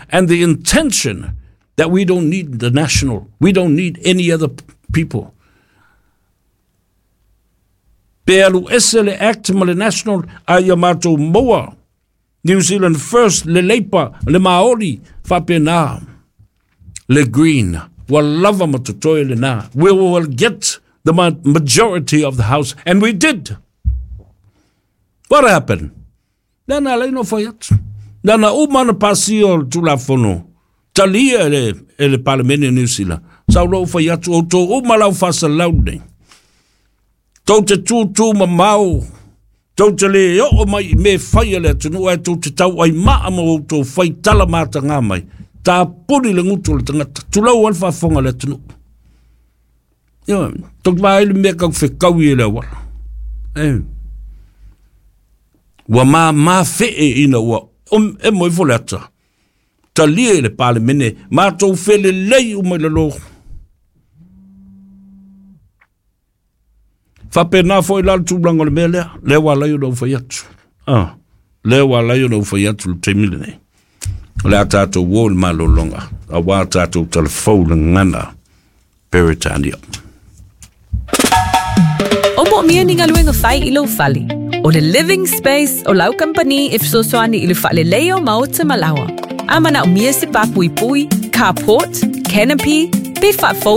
And the intention that we don't need the national, we don't need any other people. Pe alu ese le Act ma le National a ia matou maua New Zealand First, le Labour, le Maori, faapena le Green. Ua lava ma totoe lena. We will get the majority of the house, and we did. What happened? Lea na alai no fai atu. Lea na uma na pasia o le Tulafono, talia e le, e le Palemene o Niu Sila. Sa ou fai atu, outou uma lau faasalau nei. Tou te tūtū mamao, tou te le oo mai i mea e fai a le atunuu ae tou te tauai maa ma outou fai tala matagā mai. Tapuni le gutu o le tagata, tulou ai le faafofoga a le atunuu. Ioe, tou te vaai i le mea kau fekaui e le auala. E. Ua māmā fee ina ua emo ifo le ata. Talia i le Palemene, matou felelei uma i lalo. Faapena foi la le tulaga o le mea lea, lea ua ala ai ona ou fai atu. Ah, lea ua ala ai ona ou fai atu i le taimi lenei. O le a tatou o i le malologa, aua tatou talafou i le gagana Peretania. O moomia ni galuega fai i lou fale. O le Living Space o lau kamupani e fesoasoani i le faaleleia o maota ma laoa. A manaomia se pā puipui, carport, canopy, pe faafou